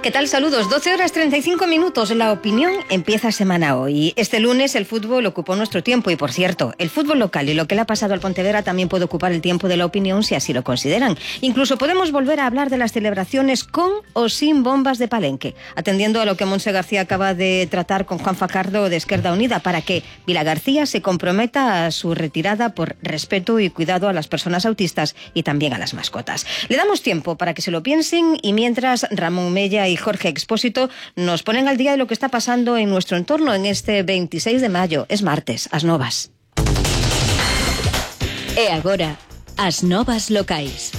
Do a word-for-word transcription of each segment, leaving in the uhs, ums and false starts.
¿Qué tal? Saludos. doce horas treinta y cinco minutos. La opinión empieza semana hoy. Este lunes el fútbol ocupó nuestro tiempo y, por cierto, el fútbol local y lo que le ha pasado al Pontevedra también puede ocupar el tiempo de la opinión si así lo consideran. Incluso podemos volver a hablar de las celebraciones con o sin bombas de Palenque, atendiendo a lo que Montse García acaba de tratar con Juan Facardo de Esquerda Unida para que Vilagarcía se comprometa a su retirada por respeto y cuidado a las personas autistas y también a las mascotas. Le damos tiempo para que se lo piensen y mientras Ramón Mella y Jorge Expósito nos ponen al día de lo que está pasando en nuestro entorno en este veintiséis de mayo. Es martes, as novas. E agora, as novas locais.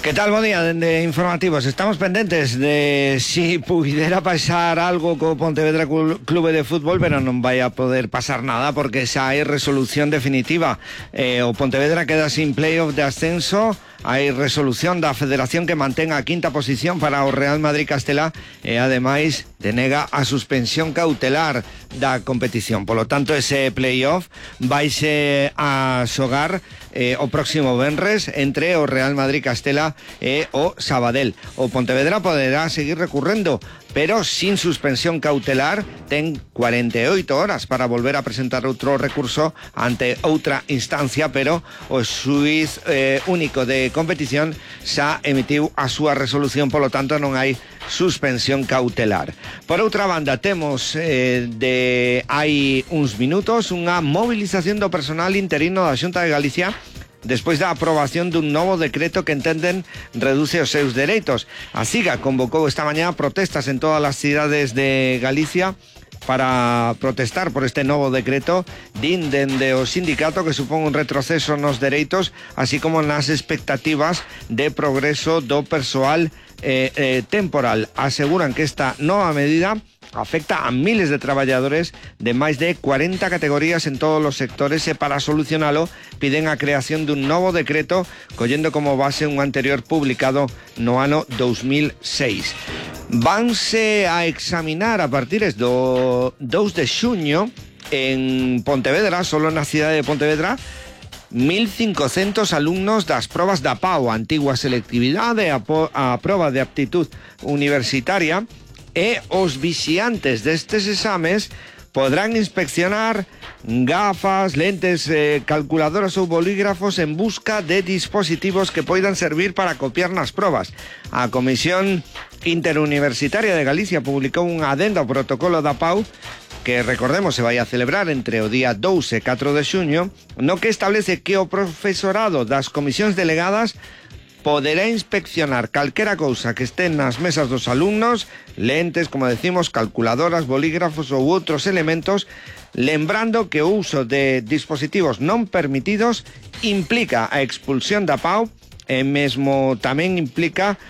¿Qué tal? Buen día, de informativos. Estamos pendentes de si pudiera pasar algo con Pontevedra Clube de Fútbol, pero non vai a poder pasar nada porque xa hai resolución definitiva. Eh, o Pontevedra queda sin playoff de ascenso. Hai resolución da Federación que mantén a quinta posición para o Real Madrid Castela e ademais denega a suspensión cautelar da competición. Polo tanto, ese playoff vaise a xogar eh, o próximo venres entre o Real Madrid Castela e o Sabadell. O Pontevedra poderá seguir recurrendo, pero sin suspensión cautelar. Ten cuarenta e oito horas para volver a presentar outro recurso ante outra instancia, pero o xuiz eh, único de competición xa emitiu a súa resolución, polo tanto non hai suspensión cautelar. Por outra banda, temos eh, de hai uns minutos unha movilización do personal interino da Xunta de Galicia despois da aprobación dun novo decreto que entenden reduce os seus dereitos. A SIGA convocou esta mañá protestas en todas as cidades de Galicia para protestar por este novo decreto. Din dende o sindicato que supón un retroceso nos dereitos, así como nas expectativas de progreso do persoal eh, eh, temporal. Aseguran que esta nova medida afecta a miles de traballadores de máis de cuarenta categorías en todos os sectores e para solucionalo piden a creación dun novo decreto collendo como base un anterior publicado no ano dos mil seis. Vanse a examinar a partir do dous de xuño en Pontevedra, solo na cidade de Pontevedra, mil cincocentos alumnos das probas da P A U, a antigua selectividade, a, a proba de aptitud universitaria, e os vixiantes destes exames podrán inspeccionar gafas, lentes, eh, calculadoras ou bolígrafos en busca de dispositivos que poidan servir para copiar nas probas. A Comisión Interuniversitaria de Galicia publicou unha adenda ao protocolo da P A U que, recordemos, se vai a celebrar entre o día dous e catro de xuño, no que establece que o profesorado das comisións delegadas poderá inspeccionar calquera cousa que estén nas mesas dos alumnos, lentes, como decimos, calculadoras, bolígrafos ou outros elementos, lembrando que o uso de dispositivos non permitidos implica a expulsión da P A U e mesmo tamén implica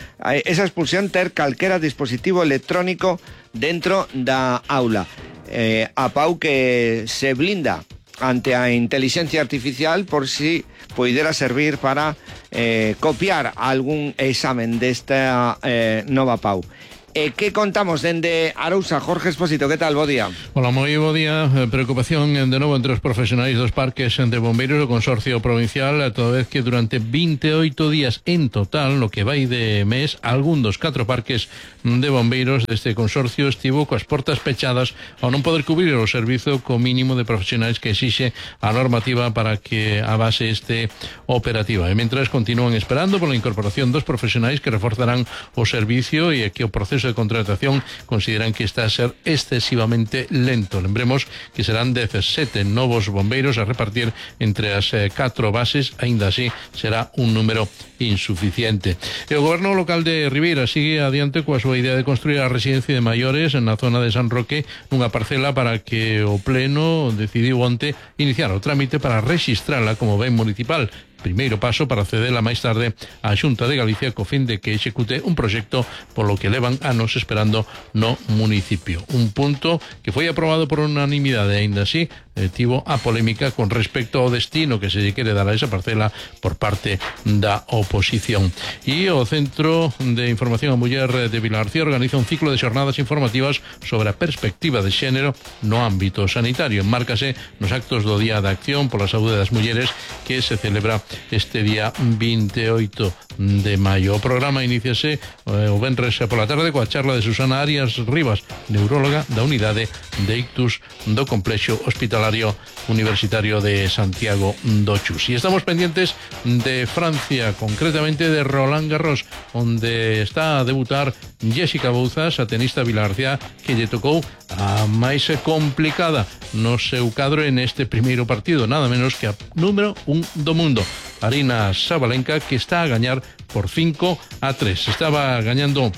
esa expulsión ter calquera dispositivo electrónico dentro da aula. Eh, a P A U que se blinda ante a inteligencia artificial por si poidera servir para eh, copiar algún examen desta eh, nova P A U. E que contamos dende Arousa? Jorge Expósito, que tal? Bo día. Hola, moi bo día. Preocupación de novo entre os profesionais dos parques de bombeiros do Consorcio Provincial, toda vez que durante veintioito días en total, no que vai de mes, algún dos catro parques de bombeiros deste consorcio estivo coas portas pechadas ao non poder cubrir o servizo co mínimo de profesionais que exixe a normativa para que a base este operativa. E mentras continúan esperando pola incorporación dos profesionais que reforzarán o servicio e que o proceso de contratación consideran que está a ser excesivamente lento. Lembremos que serán dezasete novos bombeiros a repartir entre as eh, catro bases, aínda así será un número insuficiente. E o goberno local de Ribeira sigue adiante coa súa idea de construir a residencia de maiores na zona de San Roque, nunha parcela para que o Pleno decidiu onte iniciar o trámite para rexistrala como ben municipal. Primeiro paso para cedela máis tarde á Xunta de Galicia co fin de que execute un proxecto polo que levan anos esperando no municipio. Un punto que foi aprobado por unanimidade, aínda así eh, tivo a polémica con respecto ao destino que se lle quere dar a esa parcela por parte da oposición. E o Centro de Información a Muller de Vilagarcía organiza un ciclo de xornadas informativas sobre a perspectiva de xénero no ámbito sanitario. Enmárcase nos actos do Día de Acción pola Saúde das Mulleres que se celebra este día veintiocho de maio. O programa iníciase eh, o venres pola tarde coa charla de Susana Arias Rivas, neuróloga da unidade de ictus do Complexo Hospitalario Universitario de Santiago do Chus. E estamos pendientes de Francia, concretamente de Roland Garros, onde está a debutar Jessica Bouzas, a tenista vilagarcía, que lle tocou a máis complicada no seu cadro en este primeiro partido, nada menos que a número un do mundo, Aryna Sabalenka, que está a gañar por cinco a tres. Estaba gañando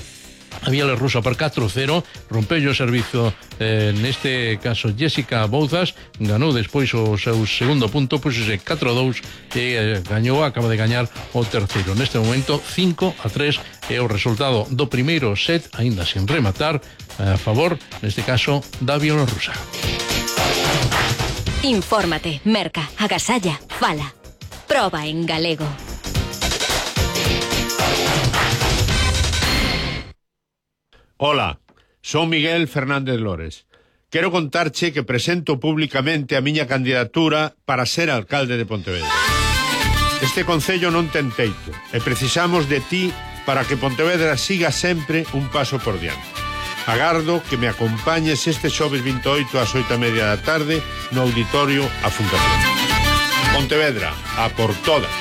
a bielorrusa por catro cero, rompeu o servizo eh, neste caso Jessica Bouzas, ganou despois o seu segundo punto, puxose catro a dous e eh, gañou, acaba de gañar o terceiro. Neste momento cinco a tres é o resultado do primeiro set, aínda sen rematar, a favor, neste caso, da bielorrusa. Infórmate, merca, agasalla, fala. Proba en galego. Ola, son Miguel Fernández Lores. Quero contarche que presento públicamente a miña candidatura para ser alcalde de Pontevedra. Este concello non ten teito e precisamos de ti para que Pontevedra siga sempre un paso por diante. Agardo que me acompañes este xoves veintiocho ás oito e media da tarde no auditorio A Fundación. Pontevedra, a por todas.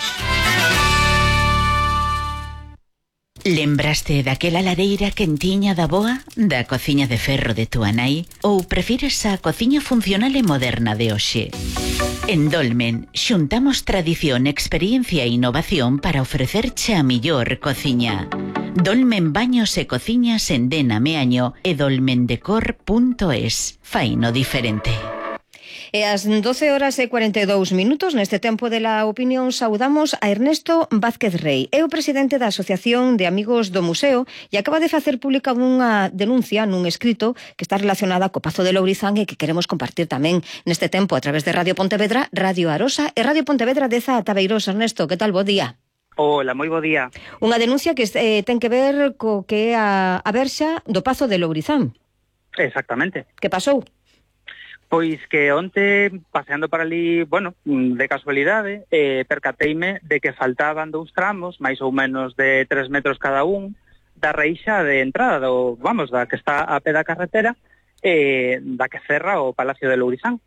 Lembraste daquela lareira quentiña da boa, da cociña de ferro de túa nai, ou prefires a cociña funcional e moderna de hoxe? En Dolmen xuntamos tradición, experiencia e innovación para ofrecerche a millor cociña. Dolmen Baños e Cociñas en Dena Meaño e dolmendecor punto es. Faino diferente. E ás doce horas e cuarenta e dous minutos, neste tempo de la opinión, saudamos a Ernesto Vázquez Rey. É o presidente da Asociación de Amigos do Museo e acaba de facer pública unha denuncia nun escrito que está relacionada co Pazo de Lourizán e que queremos compartir tamén neste tempo a través de Radio Pontevedra, Radio Arosa e Radio Pontevedra deza Tabeiros. Ernesto, que tal? Bo día. Hola, moi bo día. Unha denuncia que eh, ten que ver co que é a, a verxa do Pazo de Lourizán. Exactamente. Que pasou? Pois que onte, paseando por ali, bueno, de casualidade, eh, percateime de que faltaban dous tramos, máis ou menos de tres metros cada un, da reixa de entrada, do, vamos, da que está a pé da carretera, eh, da que cerra o Palacio de Lourizán.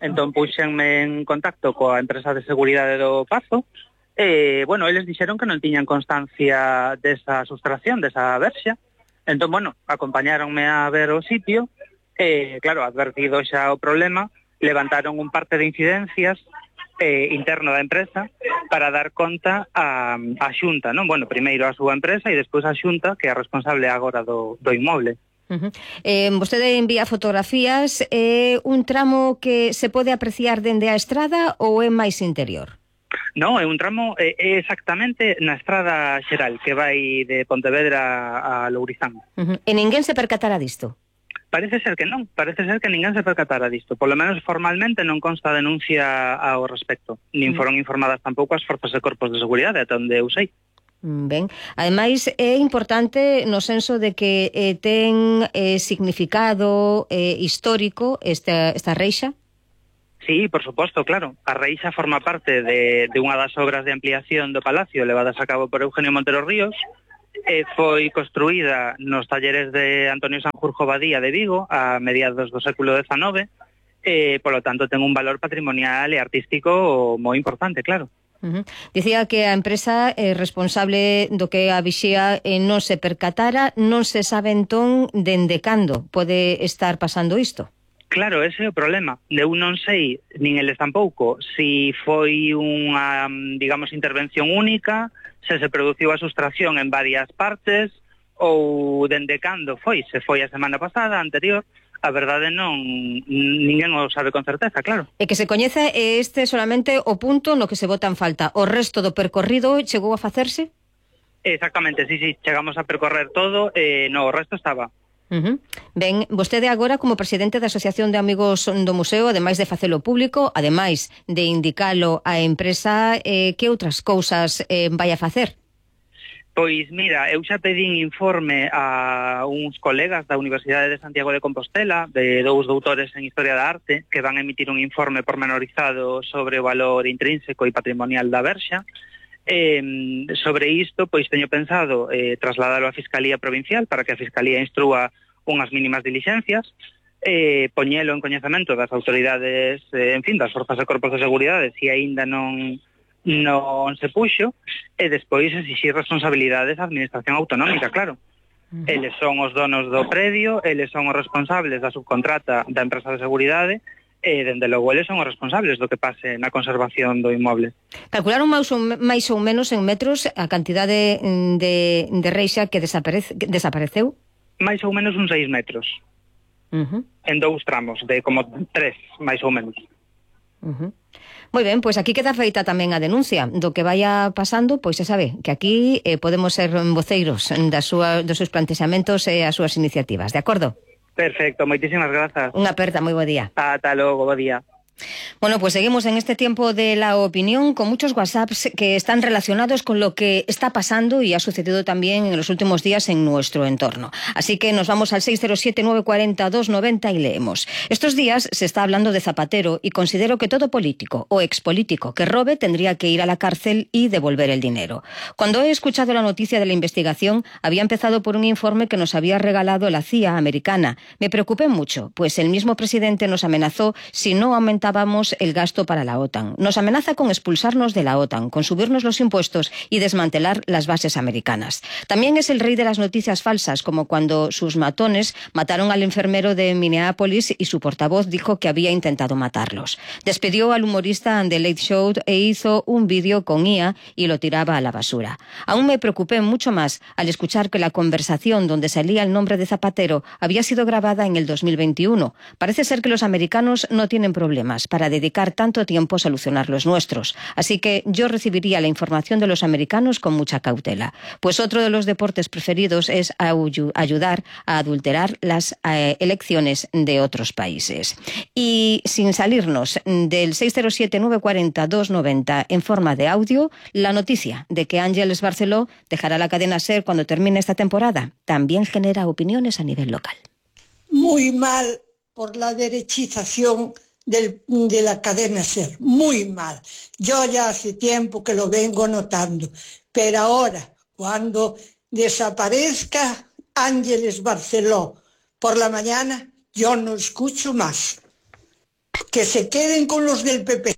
Entón, puxenme en contacto coa empresa de seguridade do Pazo, e, eh, bueno, eles dixeron que non tiñan constancia desa sustracción, desa verxa. Entón, bueno, acompañáronme a ver o sitio, Eh, claro, advertido xa o problema, levantaron un parte de incidencias eh, interno da empresa para dar conta a, a Xunta, non? Bueno, primeiro a súa empresa e despois a Xunta, que é a responsable agora do, do inmoble. Uh-huh. Eh, vostede envía fotografías, é eh, un tramo que se pode apreciar dende a estrada ou é máis interior? Non, é un tramo é, é exactamente na estrada xeral que vai de Pontevedra a Lourizán. Uh-huh. E ninguén se percatará disto? Parece ser que non, parece ser que ninguén se percatara disto. Por lo menos formalmente non consta denuncia ao respecto. Nin foron informadas tampouco as forzas e corpos de seguridade, ata onde eu sei. Ben, ademais é importante no senso de que eh, ten eh, significado eh, histórico esta, esta reixa? Sí, por suposto, claro. A reixa forma parte de, de unha das obras de ampliación do Palacio levadas a cabo por Eugenio Montero Ríos. Eh, foi construída nos talleres de Antonio Sanjurjo Badía de Vigo a mediados do século dezenove, e, polo tanto, ten un valor patrimonial e artístico moi importante, claro. Uh-huh. Dicía que a empresa é responsable do que a vixía e non se percatara, non se sabe entón dende cando pode estar pasando isto. Claro, ese é o problema. Eu non sei, nin eles tampouco, si foi unha, digamos, intervención única, se se produciu a sustracción en varias partes, ou dende cando foi, se foi a semana pasada, anterior, a verdade non, ninguén o sabe con certeza, claro. E que se coñece este solamente o punto no que se bota en falta. O resto do percorrido chegou a facerse? Exactamente, sí, sí, chegamos a percorrer todo, e no, o resto estaba. Uh-huh. Ben, vostede agora como presidente da Asociación de Amigos do Museo, ademais de facelo público, ademais de indicalo á empresa, eh, que outras cousas eh, vai a facer? Pois mira, eu xa pedín informe a uns colegas da Universidade de Santiago de Compostela, de dous doutores en Historia da Arte, que van a emitir un informe pormenorizado sobre o valor intrínseco e patrimonial da Verxa. Eh, sobre isto, pois teño pensado eh, trasladalo á Fiscalía Provincial para que a Fiscalía instrúa unhas mínimas diligencias, eh, poñelo en coñecemento das autoridades, eh, en fin, das forzas e corpos de seguridade, se aínda non... non se puxo, e despois exixir responsabilidades á Administración Autonómica, claro. Uh-huh. Eles son os donos do predio, eles son os responsables da subcontrata da empresa de seguridade, e, dende logo, eles son os responsables do que pase na conservación do inmoble. Calcularon máis ou, máis ou menos en metros a cantidade de, de reixa que, desaparece, que desapareceu? Máis ou menos uns seis metros. Uh-huh. En dous tramos, de como tres, máis ou menos. Uh-huh. Moi ben, pois aquí queda feita tamén a denuncia do que vaya pasando, pois se sabe que aquí eh, podemos ser voceiros das súa, dos seus plantexamentos e as súas iniciativas, de acordo? Perfecto, moitísimas grazas. Unha aperta, moi bo día. Ata logo, bo día. Bueno, pues seguimos en este tiempo de la opinión con muchos WhatsApps que están relacionados con lo que está pasando y ha sucedido también en los últimos días en nuestro entorno. Así que nos vamos al seis cero siete, nueve cuatro cero, dos nueve cero y leemos. Estos días se está hablando de Zapatero y considero que todo político o expolítico que robe tendría que ir a la cárcel y devolver el dinero. Cuando he escuchado la noticia de la investigación, había empezado por un informe que nos había regalado la C I A americana. Me preocupé mucho, pues el mismo presidente nos amenazó si no aumentábamos el gasto para la OTAN. Nos amenaza con expulsarnos de la OTAN, con subirnos los impuestos y desmantelar las bases americanas. También es el rey de las noticias falsas, como cuando sus matones mataron al enfermero de Minneapolis y su portavoz dijo que había intentado matarlos. Despidió al humorista The Late Show e hizo un vídeo con I A y lo tiraba a la basura. Aún me preocupé mucho más al escuchar que la conversación donde salía el nombre de Zapatero había sido grabada en el dos mil veintiuno. Parece ser que los americanos no tienen problemas para dedicar tanto tiempo a solucionar los nuestros. Así que yo recibiría la información de los americanos con mucha cautela. Pues otro de los deportes preferidos es ayudar a adulterar las eh, elecciones de otros países. Y sin salirnos del seis cero siete, nueve cuatro cero, dos nueve cero en forma de audio, la noticia de que Ángeles Barceló dejará la cadena SER cuando termine esta temporada también genera opiniones a nivel local. Muy mal por la derechización Del, de la cadena SER, muy mal. Yo ya hace tiempo que lo vengo notando, pero ahora, cuando desaparezca Ángeles Barceló por la mañana, yo no escucho más. Que se queden con los del P P.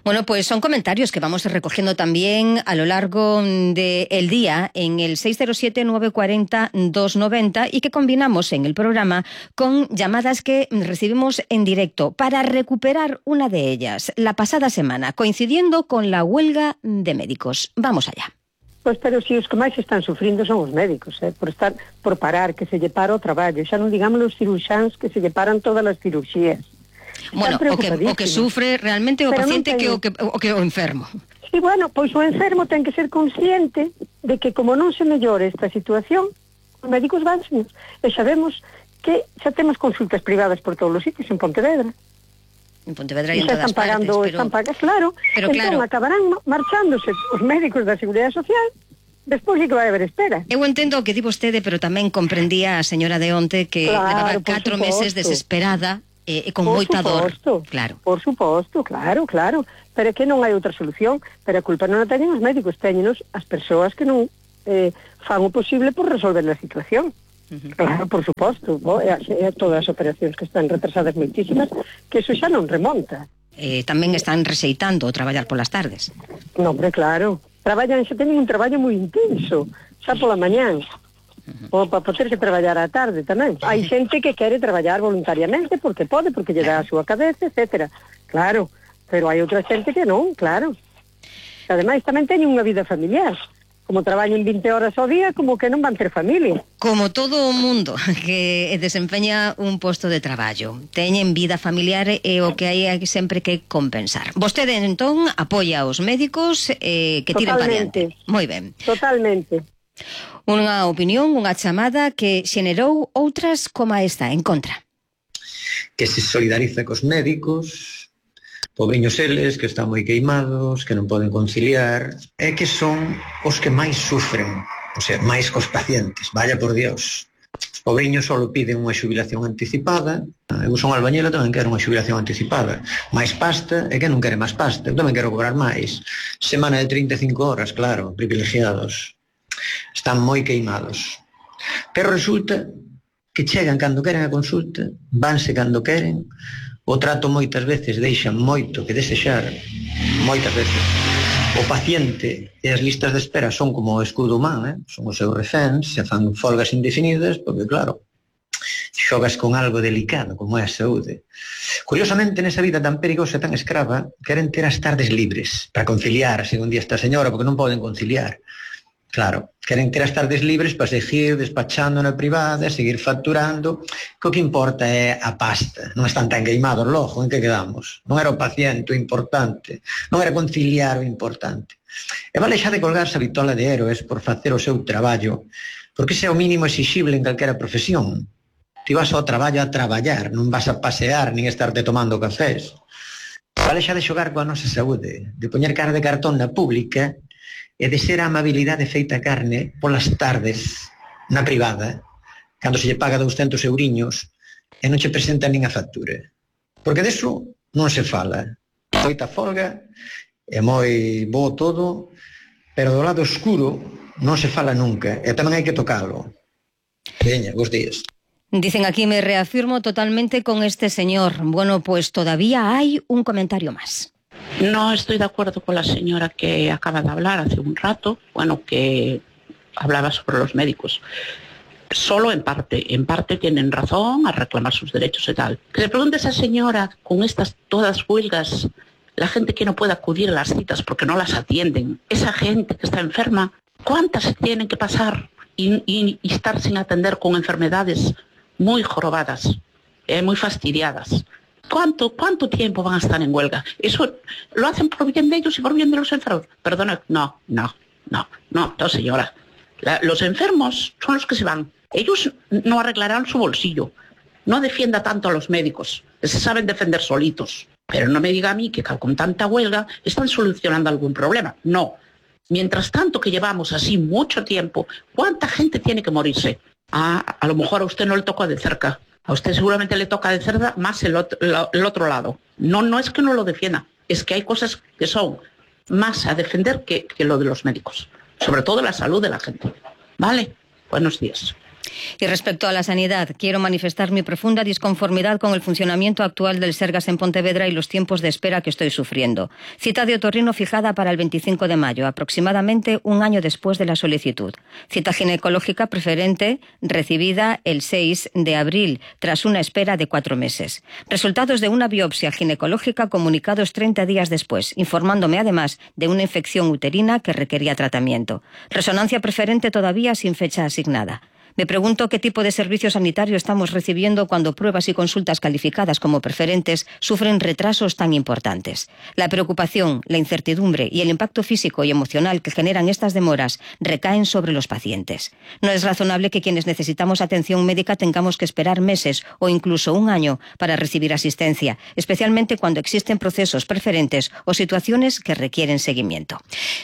Bueno, pues son comentarios que vamos recogiendo también a lo largo del día en el seis cero siete, nueve cuatro cero, dos nueve cero y que combinamos en el programa con llamadas que recibimos en directo para recuperar una de ellas la pasada semana, coincidiendo con la huelga de médicos. Vamos allá. Pois, pero si os que máis están sufrindo son os médicos, eh, por estar por parar, que se lle para o traballo. Xa non digamos os ciruxáns que se lle paran todas as cirurxías. Bueno, o que, o que sufre realmente o pero paciente ten... que, o que o que o enfermo. Sí, bueno, pois o enfermo ten que ser consciente de que como non se mellore esta situación, os médicos van e sabemos que xa temos consultas privadas por todos os sitios en Pontevedra. En Pontevedra e en todas están partes, pagando, pero... están pagando, claro, pero entón claro. Acabarán marchándose os médicos da Seguridade Social. Despois sí que vai haber espera. Eu entendo o que di vostede, pero tamén comprendía a señora de onte que claro, levaba catro meses desesperada e eh, con por moita suposto, dor. Claro. Por suposto, claro, claro. Pero é que non hai outra solución. Pero a culpa non a teñen os médicos, teñenos as persoas que non eh, fan o posible por resolver a situación. Uh-huh. Claro, por suposto. Oh, e, e todas as operacións que están retrasadas moitísimas, que eso xa non remonta. Eh, tamén están rexeitando traballar polas tardes. Non, hombre, claro. Traballan, xa teñen un traballo moi intenso, xa pola mañán. Ou para poder que traballar á tarde tamén. Hai xente que quere traballar voluntariamente porque pode, porque lle dá a súa cabeza, etcétera. Claro, pero hai outra xente que non, claro. Ademais tamén teñen unha vida familiar. Como traballan vinte horas ao día, como que non van ter familia. Como todo o mundo que desempeña un posto de traballo. Teñen vida familiar e o que hai sempre que compensar. Vostede, entón, apoia aos médicos eh, que tiren para diante. Moi ben. Totalmente. Unha opinión, unha chamada que xenerou outras como esta, en contra. Que se solidariza cos médicos, Pobriños eles, que están moi queimados, que non poden conciliar, e que son os que máis sufren, o sea, máis cos pacientes, vaya por Dios. Os pobriños só piden unha xubilación anticipada. Eu son albañela, tamén quero unha xubilación anticipada. Máis pasta, e que non quere máis pasta. Eu tamén quero cobrar máis. Semana de trinta e cinco horas, claro, privilegiados. Están moi queimados. Pero resulta que chegan cando queren a consulta, vanse cando queren, o trato moitas veces deixa moito que desexar, moitas veces. O paciente e as listas de espera son como o escudo humán, eh? Son os seus reféns, se fan folgas indefinidas, porque claro, xogas con algo delicado, como é a saúde. Curiosamente, nesa vida tan perigosa e tan escrava, queren ter as tardes libres, para conciliar, según di esta señora, porque non poden conciliar. Claro, queren ter as tardes libres para seguir despachando na privada, seguir facturando, que o que importa é a pasta. Non están tan queimados logo, en que quedamos? Non era o paciente o importante, non era conciliar o importante. E vale xa de colgarse a vitola de héroes por facer o seu traballo, porque ese é o mínimo exixible en calquera profesión. Ti vas ao traballo a traballar, non vas a pasear nin estarte tomando cafés. Vale xa de xogar coa nosa saúde, de poñer cara de cartón na pública e de ser a amabilidade feita carne polas tardes na privada, cando se lle paga douscentos euriños e non che presentan nin a factura. Porque deso non se fala. Moita folga, é moi bo todo, pero do lado oscuro non se fala nunca, e tamén hai que tocalo. Veña, bons días. Dicen aquí, me reafirmo totalmente con este señor. Bueno, pues todavía hay un comentario más. No estoy de acuerdo con la señora que acaba de hablar hace un rato, bueno, que hablaba sobre los médicos. Solo en parte, en parte tienen razón a reclamar sus derechos y tal. Que le pregunte a esa señora, con estas todas huelgas, la gente que no puede acudir a las citas porque no las atienden, esa gente que está enferma, ¿cuántas tienen que pasar y, y, y estar sin atender con enfermedades muy jorobadas, eh, muy fastidiadas? ¿Cuánto, ¿Cuánto tiempo van a estar en huelga? ¿Eso lo hacen por bien de ellos y por bien de los enfermos? Perdona, no, no, no, no, no señora. La, los enfermos son los que se van. Ellos no arreglarán su bolsillo. No defienda tanto a los médicos, que se saben defender solitos. Pero no me diga a mí que con tanta huelga están solucionando algún problema. No. Mientras tanto que llevamos así mucho tiempo, ¿cuánta gente tiene que morirse? Ah, a lo mejor a usted no le toca de cerca. A usted seguramente le toca de cerca más el otro, el otro lado. No, no es que no lo defienda, es que hay cosas que son más a defender que, que lo de los médicos. Sobre todo la salud de la gente. ¿Vale? Buenos días. Y respecto a la sanidad, quiero manifestar mi profunda disconformidad con el funcionamiento actual del Sergas en Pontevedra y los tiempos de espera que estoy sufriendo. Cita de otorrino fijada para el veinticinco de mayo, aproximadamente un año después de la solicitud. Cita ginecológica preferente recibida el seis de abril, tras una espera de cuatro meses. Resultados de una biopsia ginecológica comunicados treinta días después, informándome además de una infección uterina que requería tratamiento. Resonancia preferente todavía sin fecha asignada. Me pregunto qué tipo de servicio sanitario estamos recibiendo cuando pruebas y consultas calificadas como preferentes sufren retrasos tan importantes. La preocupación, la incertidumbre y el impacto físico y emocional que generan estas demoras recaen sobre los pacientes. No es razonable que quienes necesitamos atención médica tengamos que esperar meses o incluso un año para recibir asistencia, especialmente cuando existen procesos preferentes o situaciones que requieren seguimiento.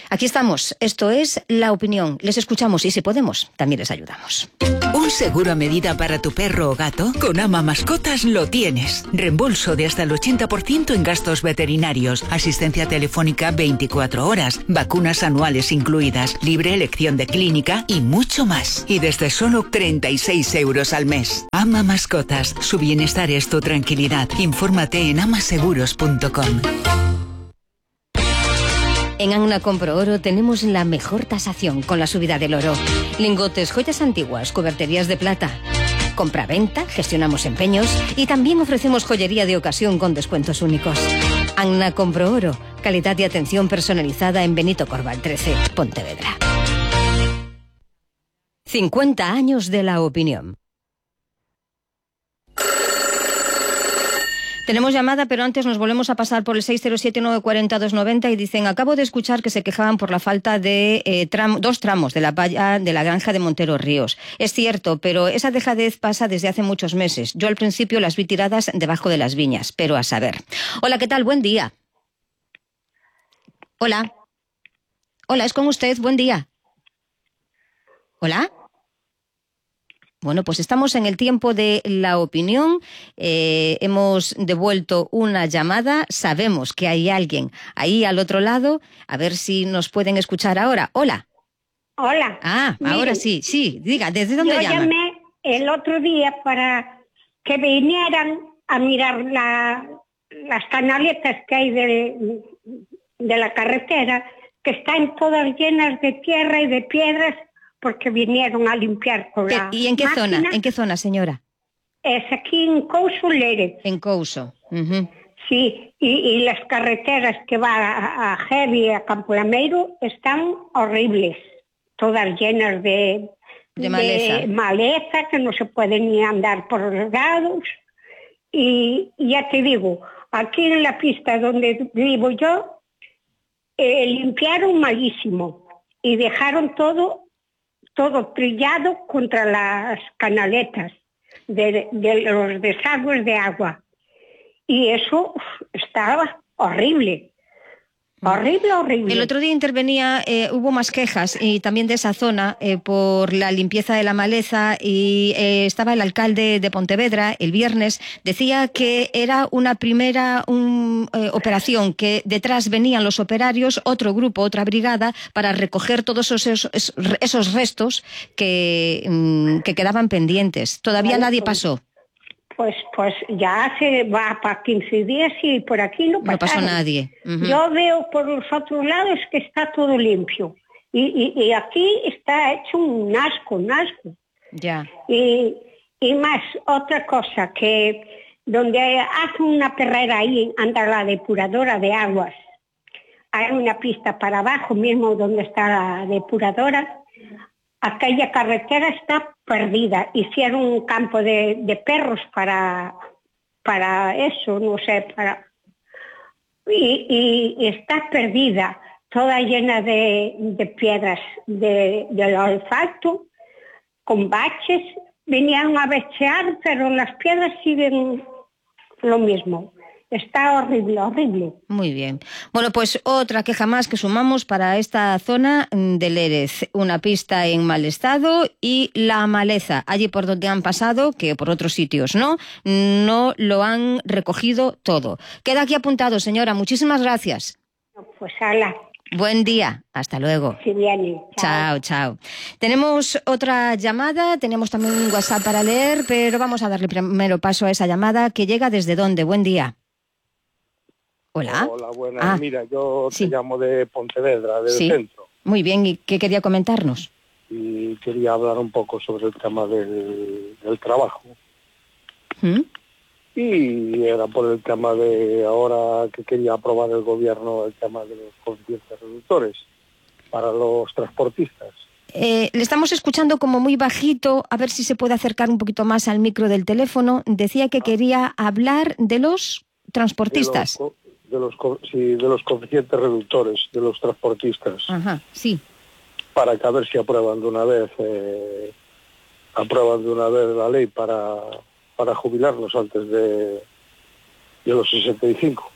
Aquí estamos. Esto es La Opinión. Les escuchamos y si podemos, también les ayudamos. ¿Un seguro a medida para tu perro o gato? Con Ama Mascotas lo tienes. Reembolso de hasta el ochenta por ciento en gastos veterinarios, asistencia telefónica veinticuatro horas, vacunas anuales incluidas, libre elección de clínica y mucho más. Y desde solo treinta y seis euros al mes. Ama Mascotas. Su bienestar es tu tranquilidad. Infórmate en amaseguros punto com. En Anna Compro Oro tenemos la mejor tasación con la subida del oro. Lingotes, joyas antiguas, cuberterías de plata. Compra-venta, gestionamos empeños y también ofrecemos joyería de ocasión con descuentos únicos. Anna Compro Oro, calidad y atención personalizada en Benito Corval trece, Pontevedra. cincuenta años de La Opinión. Tenemos llamada, pero antes nos volvemos a pasar por el seis cero siete nueve cuatro cero dos nueve cero y dicen, acabo de escuchar que se quejaban por la falta de eh, tram, dos tramos de la valla de la granja de Montero Ríos. Es cierto, pero esa dejadez pasa desde hace muchos meses. Yo al principio las vi tiradas debajo de las viñas, pero a saber. Hola, ¿qué tal? Buen día. Hola. Hola, es con usted. Buen día. Hola. Bueno, pues estamos en el tiempo de la opinión. Eh, hemos devuelto una llamada. Sabemos que hay alguien ahí al otro lado. A ver si nos pueden escuchar ahora. Hola. Hola. Ah, Miren, ahora sí, sí. Diga, ¿desde dónde yo llama? Yo llamé el otro día para que vinieran a mirar la, las canaletas que hay de, de la carretera, que están todas llenas de tierra y de piedras, porque vinieron a limpiar con la ¿Y en qué máquina. zona? ¿En qué zona, señora? Es aquí en Couso, Lérez. En Couso. Uh-huh. Sí, y, y las carreteras que van a, a Heavy, a Campo Lameiro, están horribles, todas llenas de, de, maleza. de maleza, que no se puede ni andar por los lados. Y, y ya te digo, aquí en la pista donde vivo yo, eh, limpiaron malísimo y dejaron todo todo trillado contra las canaletas de, de los desagües de agua. Y eso estaba horrible. Horrible, horrible. El otro día intervenía, eh, hubo más quejas y también de esa zona eh, por la limpieza de la maleza y eh, estaba el alcalde de Pontevedra el viernes, decía que era una primera un, eh, operación, que detrás venían los operarios, otro grupo, otra brigada, para recoger todos esos, esos, esos restos que, mm, que quedaban pendientes. Todavía nadie pasó. Pues pues ya se va para quince días y por aquí no pasaron. No pasó nadie. Uh-huh. Yo veo por los otros lados que está todo limpio. Y, y, y aquí está hecho un asco, un asco. Ya. Y, y más, otra cosa, que donde hacen una perrera ahí, anda la depuradora de aguas. Hay una pista para abajo mismo donde está la depuradora. Aquella carretera está perdida. Hicieron un campo de, de perros para, para eso, no sé, para... Y, y, y está perdida, toda llena de, de piedras de, del asfalto, con baches. Venían a bechear, pero las piedras siguen lo mismo. Está horrible, horrible. Muy bien. Bueno, pues otra queja más que sumamos para esta zona de Lérez. Una pista en mal estado y la maleza, allí por donde han pasado, que por otros sitios no, no lo han recogido todo. Queda aquí apuntado, señora. Muchísimas gracias. Pues ala. Buen día. Hasta luego. Sí, viene. Chao, chao. Tenemos otra llamada, tenemos también un WhatsApp para leer, pero vamos a darle primero paso a esa llamada que llega desde dónde. Buen día. Hola. Hola, buenas. Ah, Mira, yo sí. te llamo de Pontevedra, del sí. centro. Muy bien, ¿y qué quería comentarnos? Y quería hablar un poco sobre el tema del, del trabajo. ¿Mm? Y era por el tema de ahora que quería aprobar el gobierno, el tema de los coeficientes reductores para los transportistas. Eh, le estamos escuchando como muy bajito, a ver si se puede acercar un poquito más al micro del teléfono. Decía que quería hablar de los transportistas. De los, de los, sí, de los coeficientes reductores de los transportistas. Ajá, sí. Para que a ver si aprueban de una vez, eh, aprueban de una vez la ley para, para jubilarnos antes de, de los sesenta y cinco.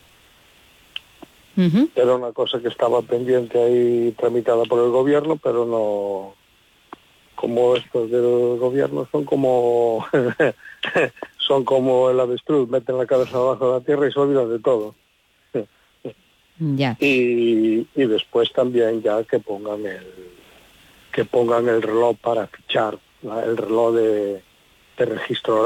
Uh-huh. Era una cosa que estaba pendiente ahí, tramitada por el gobierno, pero no, como estos del gobierno son como son como el avestruz, meten la cabeza abajo de la tierra y se olvidan de todo. Ya. Y, y después también ya que pongan el que pongan el reloj para fichar, el reloj de, de registro horario.